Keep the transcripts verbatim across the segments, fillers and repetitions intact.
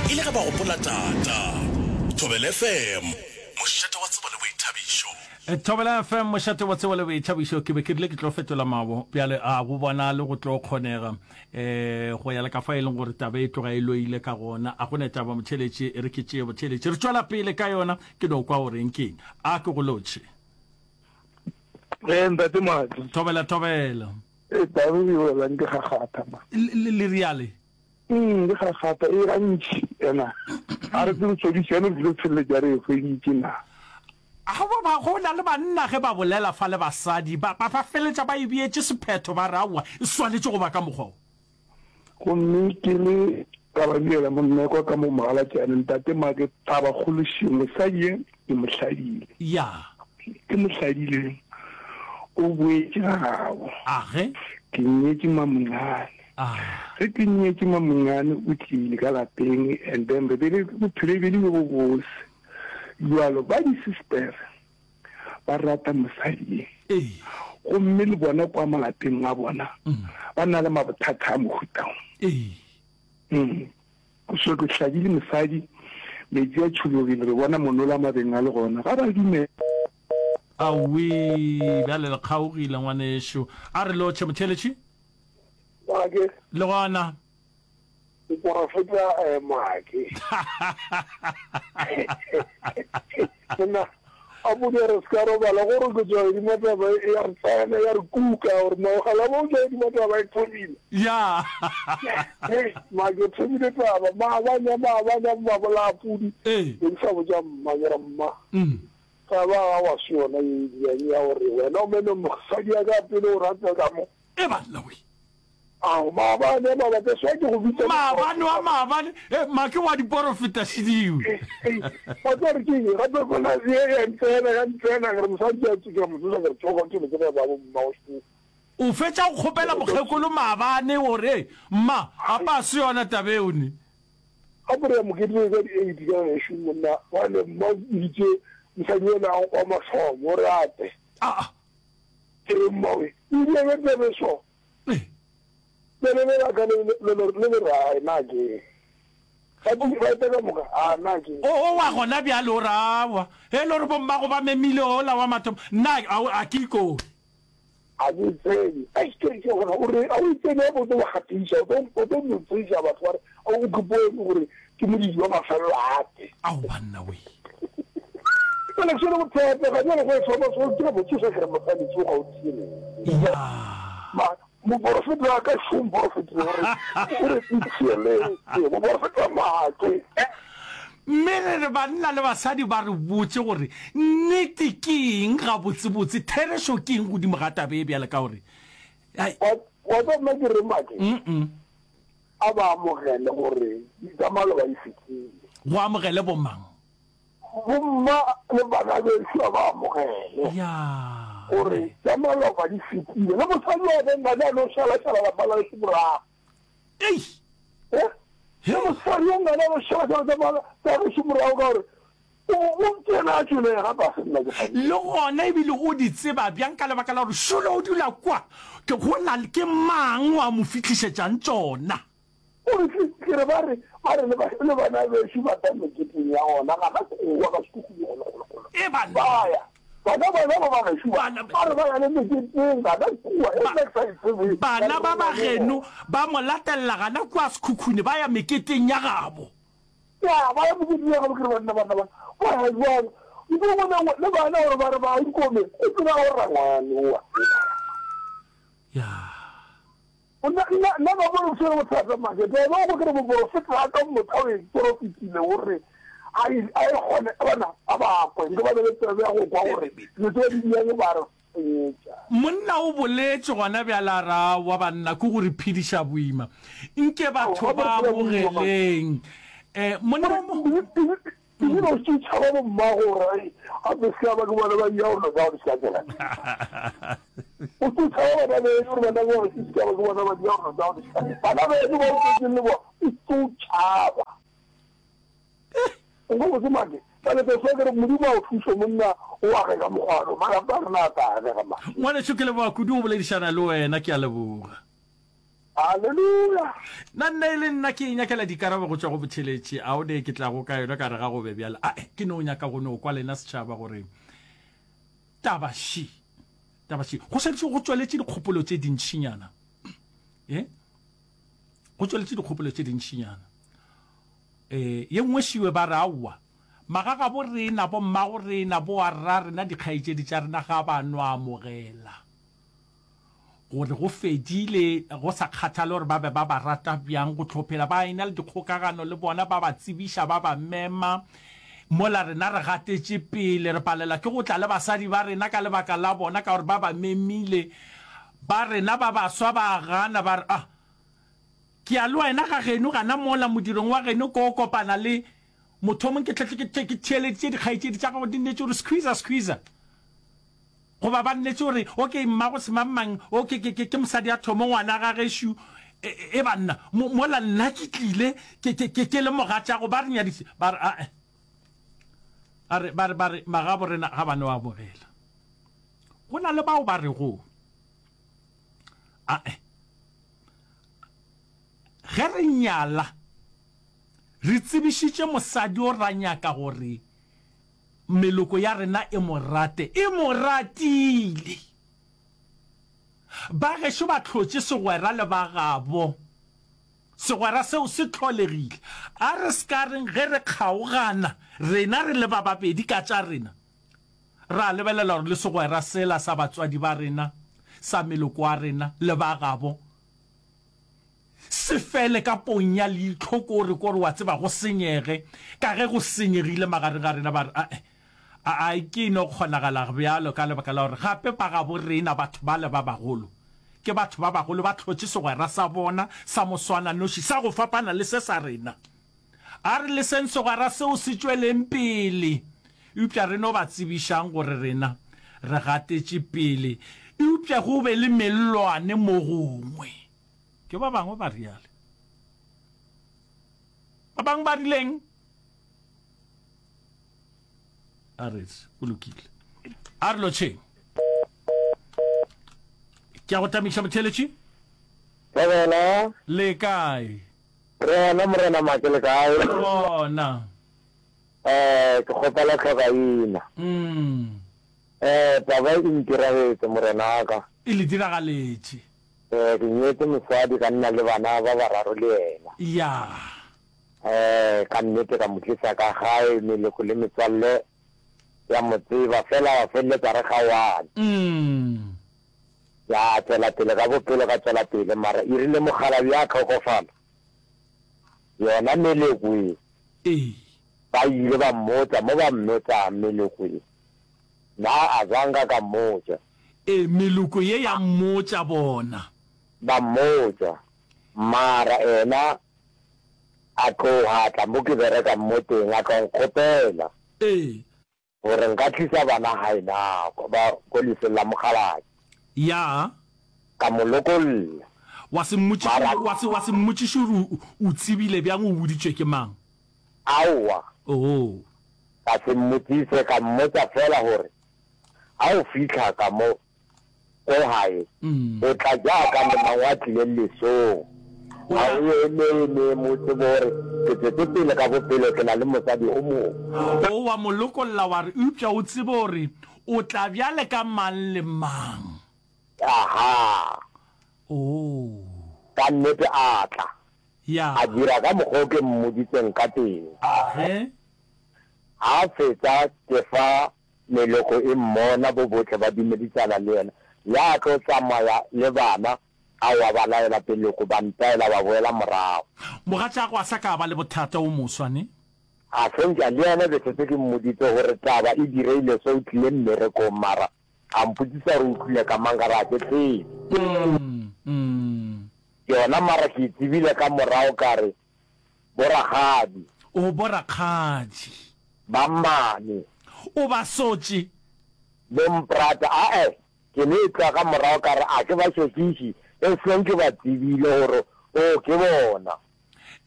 e le ge ba gopola tata. Thobela F M, mošate wa tsebo le boithabišo. Thobela F M, mošate wa tsebo le boithabišo. Ke be ke rile ke tlo fetola mabo, bjale a go bonale go tlo kgonega. Um go ya le ka fa e leng gore taba e tloga e loile ka gona. A go ne taba motheeletši, e re ke tšee botheeletši. Re tšwela pele ka yona, ke no kwa o reng keng. A ke go lotšhe. Ee, ntate Madi. Thobela, thobela. E taba e welang ke gagatha ma. Le le riale? Mm, ke gagatha e gantši ena. A re tsebe tshodišo ene re tlile feleletša re e hweditše na. A ba ba go na le banna ge ba bolela fa le basadi ba ba ba feletša ba e beetše sephetho ba re aowa e swanetše go ba ka mokgwa wo. Gomme ke le Gababiela monnekwa ka mo mogalatšane ntate Make taba kgolo še mosadi ye ke mo hladile. Ya. Ke mo hladile o boetše ga gabo. Age. Ke nyetše Mamonyane. Ah. Ge ke nyetše Mamonyane o tlile ka lapeng and then re be le bophelo e be le bjo bo bose. Bjalo ba di-sister ba rata mosadi ye. Ee. Gomme le bona kwa malapeng a bona ba na le mabothata a mohuta wo. Ee. Mm. So ke hladile mosadi, metsi a tšhologile, re bona monola mabeng a le gona. Ga ba dumela. Aowii, bjale le kgaogile ngwanešu. A re lotšhe motheeletši. Make. Le gona. Moporofeta eh, Make. Nna a bone re se ka robala gore ke tswa godimo taba e ya re tsena ya re kuka gore mogala bo tswa godimo taba e thomile. Ya. Hey, Make thomile taba maabane maabane ba bolaya pudi. Ee. Ke sa botša mma ke re mma. Mm. Taba ga wa se yona ye e ya gore wena o mene mosadi ya ka pele o rata ka mo. E banna we. Ao, maabane, maabane, swa ke go bitša Maabane wa maabane, eh, make wa diporofeta šidiwe. Wa tseba gore ke eng? Gape gona ye ya ntsena, ya ntsena, ke re mosadi a tsoke, mo tsoša ke re tsoga, ke ke ba bo mma o se. O fetša go kgopela mokgekolo maabane gore, eh, mma, apa se yona taba eo ne. Gape re ya moketeng ka di-eight ka gešo monna, bjale mma o biditše mosadi yola wa mathomo o re ape. Ah. Ke re mma we, o ile be tsebe so. Bjale le la ka le le le le rae na ke ba di ba ka moka a na ke o o wa gona bjale o rawa e le gore bommago ba memile ola wa mathomo nna a a ke ikone a ke tsebe a ke ke gona o re a o tsebe o tlo ba gatiša o tlo o tlo mo tsebisa batho ba re o ke bone gore ke modidi wa mafelelo ape ao banna we Bjale ke sone bothata ga bjale go e thoma so ke mo tsoša ke re mosadi tsoga o tiele ya ma moporofeta wa ka šo moporofeta gore o re ntshieletse moporofeta make. Mme re re banna le basadi ba re botše gore nnete ke eng gabotsebotse, therešo ke eng godimo ga taba e bjale ka gore ai. Wa wa tseba nna ke reng make? Mm-mm. A ba amogele gore tsa maloba di fetile. Go amogele bomang? Bomma le bana bešo a ba amogele. Ya. Gore tša maloba di fetile. Le mosadi wa ka ngane a no šalašala lapa la gešo morago. Ei. Eh? Le mosadi wa ngane a no šalašala tša mala tša gešo morago ka gore o o kena a tšwele gape a se nna ke sa Le gona ebile o di tseba bjang ka lebaka la gore šolo o dula kwa ke go na ke mang wa mo fihlišetšang tšona? O re, Ke, ke re ba re, ba re le ba, le bana bešo ba tla meketeng ya gona, gana kowa ka sekhukhung golo, golo, golo. E banna. Ba ya. Bana bona ba ba gešo ba, Bana, ba re ba ya le meketeng gana kua, e ba, nna ke sa e tsebe, ba bana re ba ba ba ya le geno gona. ba mo latelela gana kua sekhukhune, ba ya meketeng ya gabo. Ya, ba ya meketeng ya gabo, ke re banna, banna ba, ba ya bjang? Ebile go na le bana gore ba re ba ikome, o tseba gore rangwane oa. Ya. Nna, nna, nna ka bona ke tshwere bothata make. Taba go ke re moporofeta a ka mmotsa o e porofetile o re a e a e kgone bana a ba kwe nke ba be le tsebe ya go kwa gore dilo tse ba di diang ba re senyetša. Monna o boletše gona bjale a re aowa banna ke go re phediša boima nke batho ba amogeleng eh monna o mo. Ebile o se tšhaba bo mmago gore ai gape se ka ba ke bona ba ya gore ba se ka tsela. O se tšhaba bana beno gore bana ba se ka ba ke bona ba ya gore ba se ka. Bana beno ba o tswetseng le bona o se tšhaba. O go botse make ka le tsofe ke re Modimo a o thuše monna o age ka mokgwano malapa a rena a tla agega make. Ngwanešu ke leboga kudu go boledišana le wena ke a leboga. Haleluya! Nna nna e le nna ke inyakela dikarabo go tšwa go botheletši a o ne ke tlago ka yona ka re ga go be bjale. Ae, ke no nyaka go no kwa lena setšhaba gore taba ši, taba ši. Go šetše go tšweletše dikgopolo tše dintšinyana. E? Go tšweletše dikgopolo tše dintšinyana. E, ye nngwe šiwe ba re aowa, magagabo rena, bommago rena, boarra rena, dikgaetšedi tša rena ga ba no amogela gore go fedile, go sa kgathale gore ba be ba ba rata bjang, go tlo phela ba ena le dikgokagano le bona, ba ba tsebiša, ba ba mema. Mola rena re gatetše pele, re palela ke go tla le basadi ba rena ka lebaka la bona, ka gore ba ba memile. Ba rena ba baswa ba gana, ba re, Ah, ke ya le wena ga geno gana mola modirong wa geno ko kopana le mothomong ke tle ke ke theeleditše dikgaetšedi tša gago di nnetše gore squeezer squeezer. Goba ba nnetše gore okay mmago semangmang o ke ke ke mosadi a thomo ngwana ga gešo e, e banna mola nna ke tlile ke ke ke ke le mogatšago ba re nyadise ba re ae a re ba re ba re magabo rena ga ba no amogela. Go na le bao ba rego ae ge re nyala re tsebišitše mosadi o ra nyaka gore meloko ya rena e mo rate, e mo ratile. Ba gešo ba hlotše segwera le ba gabo. Segwera seo se hlolegile. A re se ka reng ge re kgaogana, rena re le ba babedi ka tša rena, ra lebelela gore le segwera sela sa batswadi ba rena, sa meloko wa rena le ba gabo, se fele ka ponya leihlo, kore, kore wa tseba go senyege, ka ge go senyegile magareng ga rena, ba re, Ae, a, a ke no kgonagala bjalo, ka lebaka la gore gape ba gabo rena, batho bale ba bagolo, ke batho ba bagolo, ba hlotše segwera sa bona sa moswananoši sa go fapana le se sa rena. A re leseng segwera seo se tšweleng pele, eupša re no ba tsebišang gore rena re gatetše pele, eupša go be le mellwane mo gongwe. Ke ba bangwe ba riale. Ba bangwe ba rileng? A re, go lokile. A re lotšheng. Ke a go tamiša motheeletši. Thobela. Le kae? Re gona Morena Make, le kae? Re gona. Eh, ke kgopela tlhokaina. Mm. Eh, taba e ntiragetse morenaka. E le diragaletše. Eh, ke nyetse mosadi ka nna le bana ba bararo le yena. Ya. Eh, ka nnete ka mo tlisa ka gae, meloko le metswalle ya mo tseba, fela wa feleletsa re kgaoane. Mm. Ya tšwela pele ka bophelo, ka tšwela pele, mara e rile mokgalabje a hlokofala, yona meloko e, Ee. ba ile ba mmotša mo ba mmetsang meloko e. Na a zanka ka mmotša? Ee, meloko ye ya mmotša bona. Ba mmotša, mara ena a tloga a tla mo ke berekang mo teng, a tlo nkgopela. Ee. Gore nka tlisa bana gae na, ba ko lefeng la mokgalabje. Ya. Ka mo lokolla. Wa se mmotšiše, Mara. wa se, wa se mmotšiše gore o, o tsebile bjang, o boditšwe ke mang? Aowa. Oo. Ka se mmotšiše, ka mmotša feela gore ga o fihla ka mo ko gae, o tla jaaka lemang wa tlileng lesong. Ga o eme-eme mo tsebo gore ke tšwetše pele ka bophelo, ke na le mosadi o mongwe. O wa mo lokolla wa re, Eupša o tsebe gore o tla bjale ka mang le mang. Aha. Oo. Ka nnete a tla. Ya. A dira ka mokgwa o ke mmoditseng ka teng. Ge. Ha a fetsa ke fa meloko e mmona, bo bohle ba dumedisana le yena. Ya tlo tsamaya le bana, a wa ba laela peloko, ba ntaela ba boela morago. Mogatšago a sa ka ba le bothata o moswa, ne? A sentša, le yena be setse ke mmoditse gore taba e direile so, o tlile mmerekong mara a mpotšisa gore o tlile ka mang, ka re a ke tsebe. Yona mara ke e tsebile ka morago ka re, Bo rakgadi. O bo rakgadi. Ba mmane. O ba sotše. Bo mprata, ae, ke no e tloga ka morago ka re a ke ba šokiše, e seng ke ba tsebile gore o ke bona.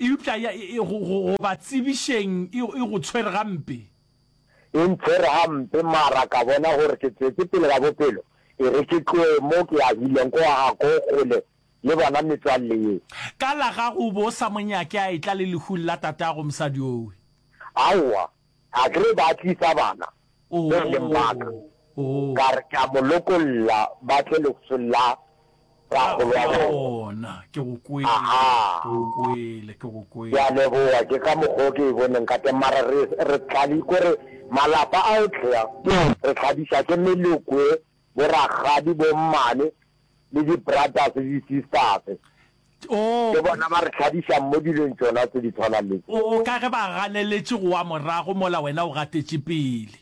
Eupša ya, e, go, go, go ba tsebišeng e, e go tshwere gampe. E ntshwere gampe, mara ka bona gore ke tswetše pele ka bophelo, e re ke tloe mo ke agileng ko ga ko kgole le bona metswalle ye. Ka la gago o be o sa mo nyake a etla le lehung la tatago mosadi owe? Aowa, a ke re ba tlisa bana Oh, be e leng ba ka. oh. Ka re ke a mo lokolla ba tle lehung la rakgolo wa bona. Bona, ke go kwele, Aha. ke go kwele, ke go Ke kwele. a leboga, ke ka mokgwa o ke e boneng ka teng, mara re, re tlali, kore malapa a ohle a, re tladiša ke meloko e, bo rakgadi, bo mmane, le di brothers le di sisters. Oh. Ke bona ba re tladišang mo dilong tšona tse di tshwanang le tse. Oh, ka ge ba ganeletše go wa morago mola wena o gatetše pele.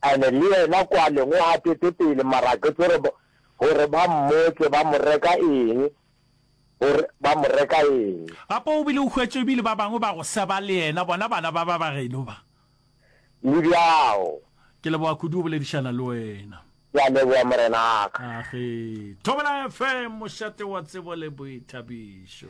And-e le yena kwaleng o gatete pele mara ke tsore gore ba mmotse ba mo reka eng, gore ba mo reka eng. Gape o bile o hwetše ebile ba bangwe ba go seba le yena, bona bana ba ba ba geno ba. Le bjao. Ke leboga kudu go boledišana le wena. Ke a leboga Morena wa ka. Age. Thobela F M, mošate wa tsebo le boithabišo.